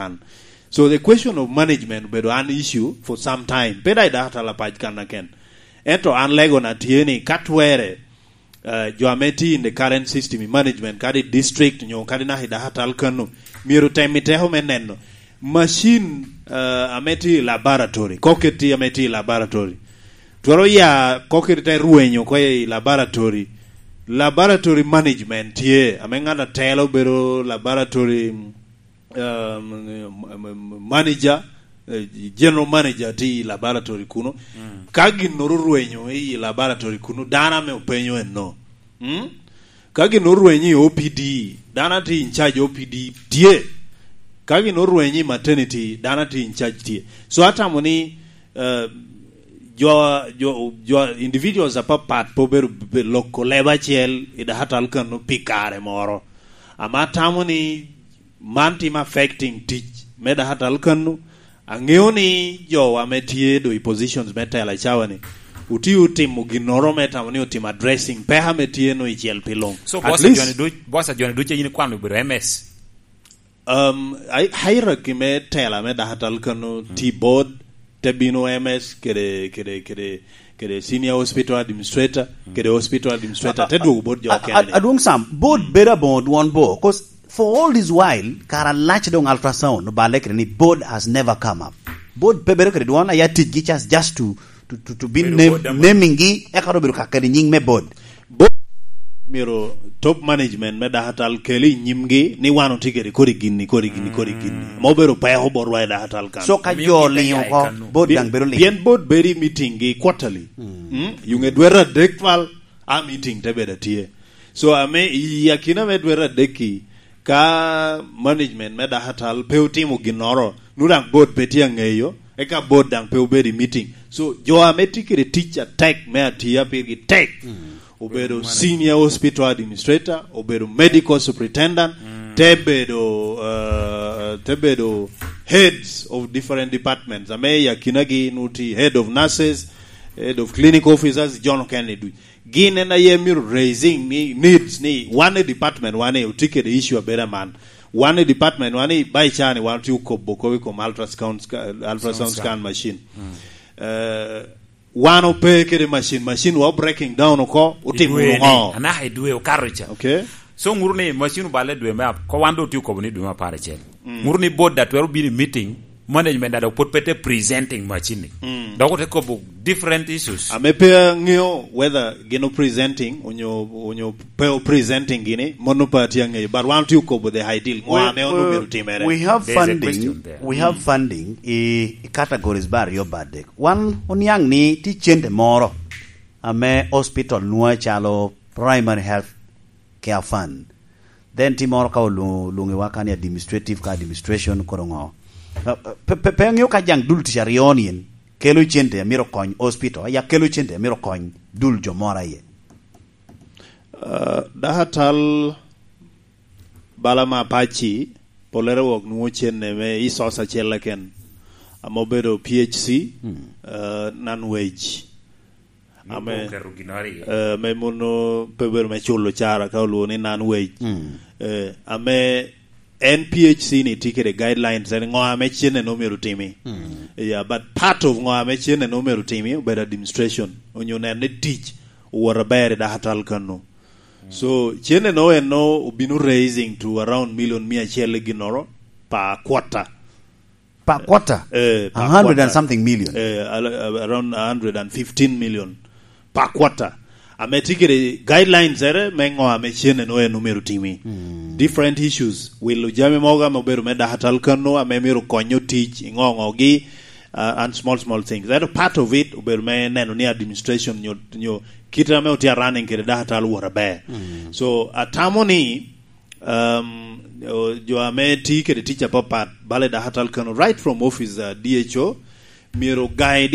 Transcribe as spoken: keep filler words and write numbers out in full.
kan. So the question of management obedo an issue for some time. Pe daŋ i dakatal apac kan aken. Ento an lego na tye ni ka twere, eh, jo ame tye in the current system i management, kadi district nyo kadi naka i dakatal kano, myero tem i teko me neno machine, eh, ame tye i laboratory, koket tye ame tye i laboratory. Twero ya koket te rwenyo oko i laboratory. Laboratory management tye, ame ŋat atelo bedo laboratory, um, manager, eh, general manager tye i laboratory kuno. Mm. Ka ginnoro orwenyo i laboratory kuno, dano ame openyo enno. Mm? Ka ginnoro orwenyo i O P D, dano a tye in charge O P D tye. Ka ginnoro orwenyo i maternity, dano a tye in charge tye. So atamo ni, eh, jo, jo, jo individuals apapat pe obedo be-, loko leb acel i dakatal kano pi kare moro. Ama atamo ni man timo affecting tic me dakatal kano. Aŋeo ni jo ame tye do i positions me tela i cawa ni, otye otimo ginnoro me tamo ni otimo addressing peko ame tye no i cel pi luŋ. So, At boss a least joni duc, boss a joni duc a yin ikwano obedo M S? Um, hi-, hierarchy me tela me dakatal kano, mm, tye board, te bino M S kede, kede, kede, kede senior hospital administrator, mm, kede hospital administrator, a, a, te dwogo board jo a, a, okene ni. Adwoŋ Sam, board, mm, bedo aboŋo dwon bo, 'cause for all this while, kara lac doŋ ultrasound oballe kede ni board has never come up. Board pe bedo kede dwon, aya ticgi just, just to, to, to, to be bedo name-, board ama. Naming-gi, eka doŋ bedo ka kede nyiŋ me board. Board myero top management me dakatal kel i nyimgi ni wan otye kede kodi gin-ni, kodi gin-ni, kodi gin-ni. Mm. Ma obedo peko botwa i dakatal kan. So ka omiyo jo kit oliŋo aya i oko, kan-nu. Board daŋ bedo liŋ. Pien board bedo i meeting-gi quarterly. Mm. Mm? Yuŋe dwete adek twal, a meeting te bedo atye. So ame i akina me dwete adek-ki, ka management me dakatal pe otimo ginnoro, nu daŋ board pe tye aŋeyo, eka board daŋ pe obedo i meeting. So jo ame tye kede tic atek me atiya pirgi tek, mm, obedo senior hospital administrator, obedo medical superintendent, mm, te bedo, uh, te bedo heads of different departments. Ame i akinagi nu tye head of nurses, head of clinic officers, John Kennedy. Gin en aye myero raising ni needs ni wan i department wan ni otye kede issue abedo aman. Wan i department wan ni ba ica ni wan otye okobo kop i kom ultrasound sca-, ultrasound scan machine. Mm. Eh, wan ope kede machine, machine wa breaking down oko, otimo wunu ŋo? Anaka i dwe okato ca. Okay. So, ŋuru ni machine oballe dwe me ap-, ko wan do otye okobo ni dwe me apar acel. Mm. Ŋuru ni board da twero bino i meeting, management da dok pwod pe te presenting machine-ni. Mm. Dok ote kobo different issues. Ame pe aŋeo whether gin o presenting onyo, onyo pe o presenting gini, mano pe atye aŋeyo. But wan otye okobo the ideal. Ŋo ame ono myero timere? We have funding, we have funding i, i categories ba aryo ba adek. Wan oniaŋ ni tye cente moro ame hospital nwoŋo calo primary health care fund. Then ti moro ka olwoŋo, olwoŋiwa ka ni administrative ka administration koro ŋo. Uh, uh, pe, pe, pe aŋeo ka jaŋ dul tic aryo ni en kelo cente a myero kony hospital, ya kelo cente a myero kony dul jo moro aye. Uh, dakatal bala ma Apac-ci, pollere wok nwoŋo cente me resource acel keken, ame obedo P H C, mm, uh, non-wage. Ame, oketo gin aryo. Eh, ame mono pe bedo me culo cara ka olwongo ni non-wage. Mm. Eh, ame en P H C ni tye kede guidelines, en ŋo ame cenne no myero timi. Mm. Yeah, but part of ŋo ame cenne no myero timi, obedo administration, onyo neno ni tic owot aber i dakatal kano. Mm. So, cenne no en no obino raising to around million mia acel i ginnoro per quarter. Per quarter? Eh, per quarter. A hundred and something million. Eh, al-, around a hundred and fifteen million per quarter. Ame tye kede guidelines ere me ŋo ame cenne no en omyero timi. Mm. Different issues. Wilo jami mogo ame obedo me dakatal kano ame myero konyo tic, i ŋo ŋogi, uh, and small, small things. That part of it obedo me neno ni administration nyo, nyo kit ame otye a running kede dakatal wot aber. Mm. So, atamo ni Um, o, jo ame tye kede tic apapat, bala i dakatal kano, right from office, uh, D H O, myero guide